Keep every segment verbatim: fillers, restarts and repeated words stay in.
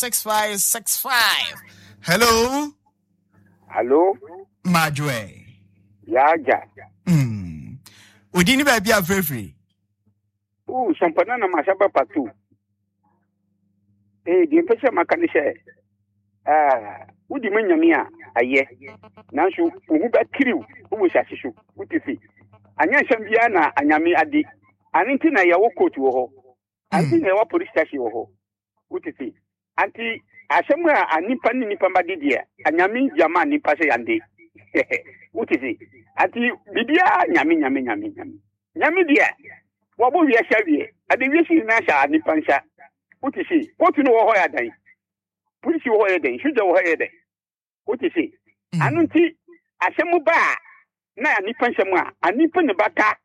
six five six five. Hello. Hello. Madwe. Yaja. Mm. Odi ni baabi afirifiri. Ooh, sampana na masaba patu. Eh, deɛ mpɛ sɛ maka ne sɛ, ah, wodi ma Nyame a ayɛ. Nanso wo ho bɛkiriw wɔ asase so, wote fi. Anyɛ nsɛm biara na anyame ade. Ano nti na yɛwɔ court wɔ hɔ. Ano nti na yɛwɔ police station wɔ hɔ. Wote fi. Anti asɛm a nipa ne nipa ma de deɛ, anyame gyama nipa sɛ yande. Wote fi. Anti biribiara Nyame, Nyame, Nyame, Nyame. Nyame deɛ, wɔbɔ wiase awie. Ade wiase nyinaa hyɛ nipa nsa. Wote fi. Court no wɔ hɔ yɛ adan. Polisi wɔ hɔ yɛ dɛn. Sogya wɔ hɔ yɛ dɛn. Wote fi. Ano nti asɛm ba a na nipa nsɛm a anipa ne bata.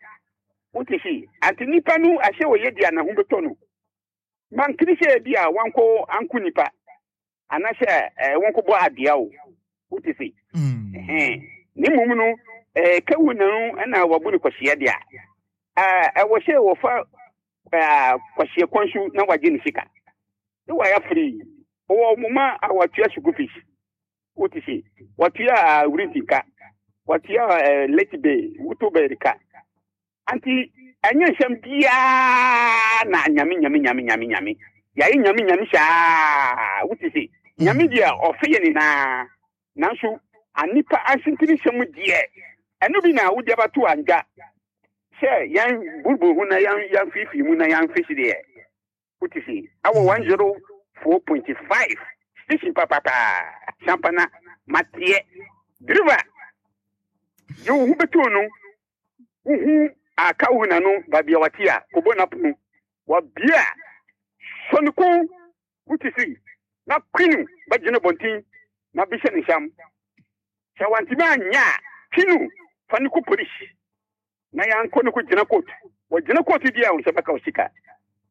Wote fi. Anti nipa no ahyɛ wɔ yɛ di a na ho bɛtɔ no. Mankiri sɛ bi a wankɔ anko nipa. Anaasɛ ɛɛ wankɔ bɔ adea o. Wote fi. Ɛhɛn. Ne mmom no ɛɛ kawu na no ɛna wabu no kɔhyia deɛ a ɛwɔ sɛ wɔfa ɛɛ kɔhyia kwan so na wagye ne sika. Ne wayɛ free. Ɔwɔ moma a watua school fees. Wote fi. Watua wurinti ka. Watua ɛɛ late bay wuto bay ka. Anti ɛnyɛ nsɛm biara na Nyame, Nyame, Nyame, Nyame, Nyame. Yɛayɛ Nyame, Nyame saa. Wote fi. Nyame deɛ ɔfe yɛ nyinaa. Nanso anipa asentene nsɛm deɛ ɛno bi na wode abato andwa sɛ yɛn buruburu ho na yɛn yɛn fiifii mu na yɛn fisi deɛ. Wote fi. Awɔ one zero four point five station papapa. Sampana mateɛ. Driver. Deɛ wo ho bɛtoo no, wohu aka wo na no baabi a wate a kɔbɔ n'apono. Wabie a sɔ ne kɔn. Wote fi. Na kwinu bɛgyina bɔnten na bisa ne nsam. Sɛ wantumi anya a, twinu fa ne kɔ polisi. Na yɛankɔ ne kɔ gyina court. Wɔgyina court di a wo nsa bɛka wo sika.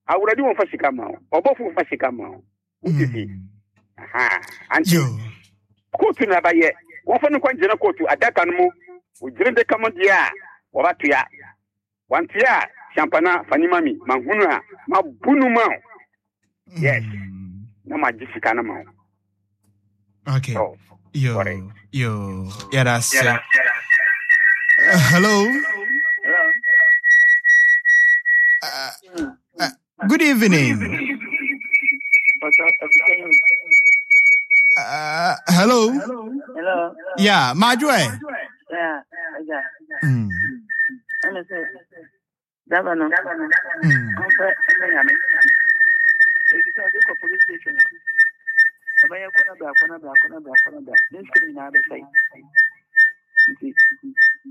Awurade wɔmfa sika ma wo. Ɔbɔfo mfa sika ma wo. Wote fi. Aha. Anti court na ɛbɛyɛ. Wɔmfa no kɔ gyina court adaka no mu. Wɔgyina daka mu deɛ a wɔbɛtoa. Wantoa a sampana fa ne ma mi. Mahunu a mabu no ma wo. Yes. Na magye sika no ma wo. Okay. So, Yo, sorry. yo. Yeah, that's it. Uh, hello. Hello. Uh, uh, good evening. Uh, hello. Hello. Yeah, Madwe. Yeah. Yeah. Mm. Ɛna sɛ daba no Mm. ɔmfɛ ɛmɛ Nyame. Eti sɛ ɔde kɔ police station a, ɔbɛyɛ kɔ na bra, kɔ na bra, kɔ na bra, kɔ na bra. Ne sika nyinaa bɛsɛe. Nti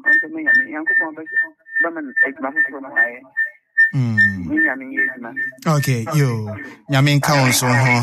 ɔmfɛ mɛ Nyame. Nyankopɔn bɛ bɛma no adwuma foforɔ no ayɛ. Mm. Ne Nyame yɛ adwuma. Okay, yo. Nyame nka wo nso ho.